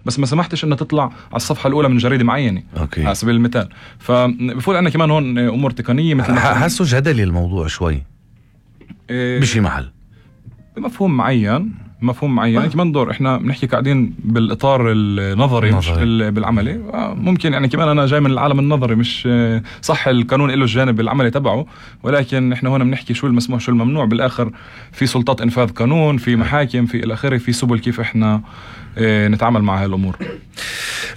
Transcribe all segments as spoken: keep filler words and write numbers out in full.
بس ما سمحتش انها تطلع على الصفحة الأولى من جريدة معينة أوكي. على سبيل المثال. فبفوت عنا كمان هون أمور تقنية مثل حاسه جدلي الموضوع شوي إيه بشي محل بمفهوم معين مفهوم معين آه. كمان دور احنا بنحكي قاعدين بالاطار النظري مش بالعملي. ممكن يعني كمان انا جاي من العالم النظري مش صح القانون له الجانب العملي تبعه ولكن احنا هون بنحكي شو المسموح شو الممنوع. بالاخر في سلطات انفاذ قانون في محاكم في الاخر في سبل كيف احنا نتعامل مع هاي الامور.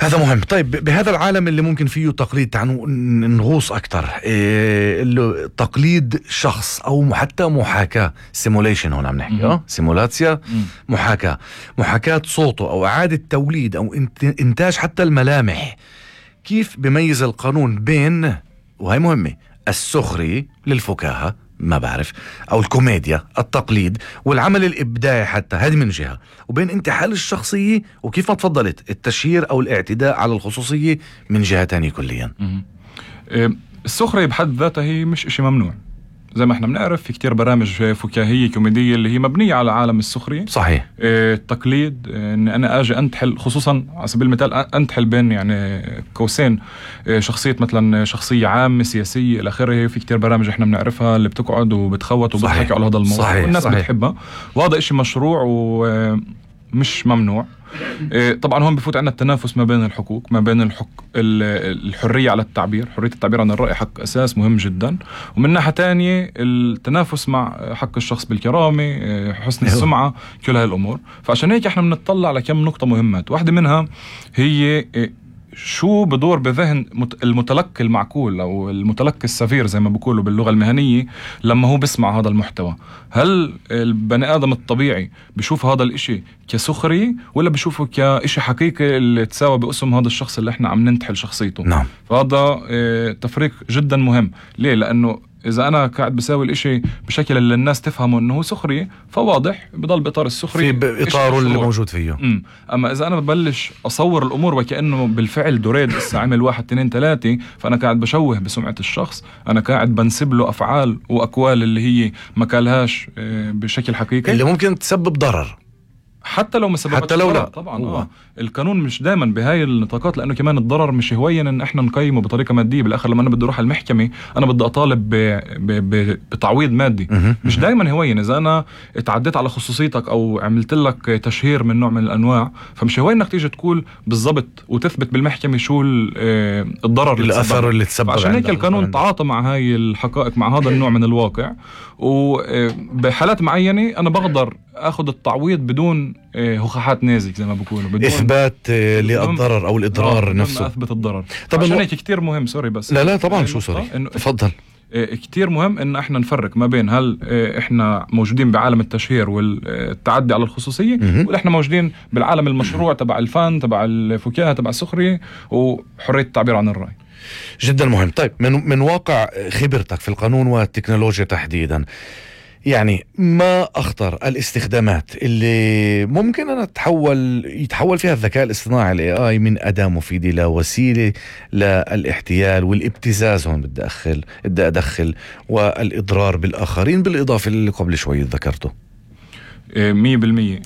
هذا مهم. طيب بهذا العالم اللي ممكن فيه تقليد تعنو نغوص اكتر إيه تقليد شخص او حتى محاكاة سيموليشن هون عم نحكي اه سيمولاتيا محاكاة محاكاة صوته او اعادة توليد او انتاج حتى الملامح. كيف بميز القانون بين وهي مهمة السخري للفكاهة ما بعرف او الكوميديا التقليد والعمل الابداعي حتى هذه من جهة وبين انتحال الشخصية وكيف ما تفضلت التشهير او الاعتداء على الخصوصية من جهة تانية كليا. السخرية بحد ذاتها هي مش اشي ممنوع زي ما احنا بنعرف. في كتير برامج فكاهية كوميدية اللي هي مبنية على عالم السخرية. صحيح. اه التقليد اه ان انا اجي انتحل خصوصا على سبيل المثال انتحل بين يعني قوسين اه شخصية مثلا شخصية عامة سياسية الى اخره. في كتير برامج احنا بنعرفها اللي بتقعد وبتخوت وبتحكي على هذا الموضوع. صحيح. والناس صحيح. بتحبها وهذا اشي مشروع ومش ممنوع. طبعا هون بفوت عنا التنافس ما بين الحقوق ما بين الحق الحرية على التعبير. حرية التعبير عن الرأي حق أساس مهم جدا ومن ناحية تانية التنافس مع حق الشخص بالكرامة حسن السمعة كل هاي الأمور. فعشان هيك احنا بنطلع لكم نقطة مهمات. واحدة منها هي شو بدور بذهن المتلقي المعقول أو المتلقي السفير زي ما بيقولوا باللغة المهنية لما هو بسمع هذا المحتوى. هل البني آدم الطبيعي بيشوف هذا الاشي كسخري ولا بيشوفه كاشي حقيقي اللي تساوي باسم هذا الشخص اللي احنا عم ننتحل شخصيته؟ نعم. فهذا تفريق جدا مهم. ليه؟ لأنه إذا أنا قاعد بساوي الإشي بشكل اللي الناس تفهمه إنه هو سخري فواضح بضل بإطار السخري في بإطاره اللي موجود فيه. مم. أما إذا أنا ببلش أصور الأمور وكأنه بالفعل دريد استعمل واحد اثنين ثلاثة فأنا قاعد بشوه بسمعة الشخص. أنا قاعد بنسب له أفعال وأقوال اللي هي ما قالهاش بشكل حقيقي اللي ممكن تسبب ضرر حتى لو ما سببتش حتى لو لا. طبعا آه. القانون مش دائما بهاي النطاقات لانه كمان الضرر مش هوين ان احنا نقيمه بطريقه ماديه. بالاخر لما انا بدي اروح على المحكمه انا بدي اطالب ب... ب... ب... بتعويض مادي. مش دائما هوين اذا انا اتعديت على خصوصيتك او عملت لك تشهير من نوع من الانواع فمش هوين انك تيجي تقول بالضبط وتثبت بالمحكمه شو الضرر الاثر اللي تسبب. عشان هيك القانون تعاطى مع هاي الحقائق مع هذا النوع من الواقع. وبحالات معينه انا بقدر اخذ التعويض بدون هخاحات نازك زي ما بقولوا بدون اثبات للضرر او الاضرار نفسه. اثبت الضرر. طبعا عشان هيك كتير مهم سوري بس لا لا طبعا شو سوري تفضل. كتير مهم ان احنا نفرق ما بين هل احنا موجودين بعالم التشهير والتعدي على الخصوصية ولا احنا موجودين بالعالم المشروع تبع الفن تبع الفكاهة تبع السخرية وحرية التعبير عن الرأي. جدا مهم. طيب من من واقع خبرتك في القانون والتكنولوجيا تحديدا يعني ما أخطر الاستخدامات اللي ممكن أن تحول يتحول فيها الذكاء الاصطناعي ال إيه آي من أداة مفيدة لوسيلة للاحتيال والابتزاز. هون بدي أدخل بدي أدخل والإضرار بالآخرين بالإضافة اللي قبل شوي ذكرته. مية بالمية.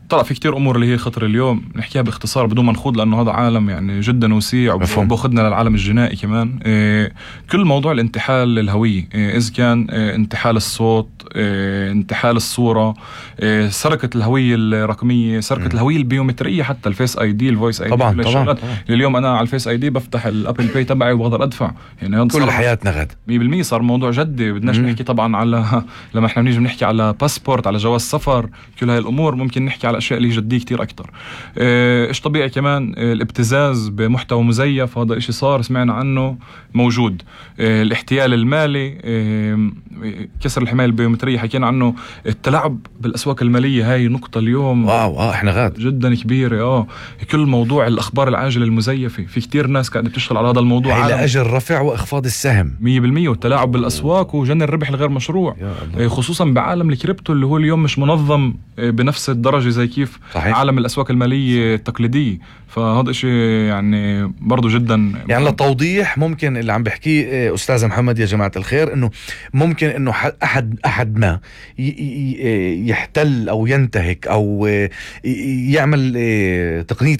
طلع في كتير أمور اللي هي خطر اليوم نحكيها باختصار بدون ما نخوض لأنه هذا عالم يعني جدا وسيع وباخدنا للعالم الجنائي كمان. إيه كل موضوع الانتحال الهوية إيه إذا كان إيه انتحال الصوت إيه انتحال الصورة إيه سرقة الهوية الرقمية سرقة م. الهوية البيومترية حتى الفيس اي دي الفويس اي دي. طبعا طبعا, طبعا. اليوم أنا على الفيس اي دي بفتح الابل باي تبعي وبقدر أدفع يعني كل حياتنا غد مية بالمية صار موضوع جدي. بدناش م. نحكي طبعا على لما احنا بنيجي بنحكي على باسبورت على جواز سفر كل هاي الأمور ممكن نحكي على أشياء اللي جدية كتير أكتر. إيش طبيعي كمان الابتزاز بمحتوى مزيف هذا إشي صار سمعنا عنه موجود. إيه الاحتيال المالي إيه كسر الحماية البيومترية حكينا عنه. التلاعب بالأسواق المالية هاي نقطة اليوم واو آه إحنا غاد جدا كبيرة. آه كل موضوع الأخبار العاجلة المزيفة في كتير ناس قاعدة تشتغل على هذا الموضوع على أجل رفع وإخفاض السهم مية بالمية. والتلاعب بالأسواق وجني الربح الغير مشروع إيه خصوصا بعالم الكريبتو اللي هو اليوم مش منظم إيه بنفس الدرجة زي كيف صحيح. عالم الأسواق المالية التقليدية. فهذا شيء يعني برضو جدا يعني للتوضيح ممكن اللي عم بحكيه أستاذ محمد يا جماعة الخير إنه ممكن إنه أحد أحد ما يحتل أو ينتهك أو يعمل تقنية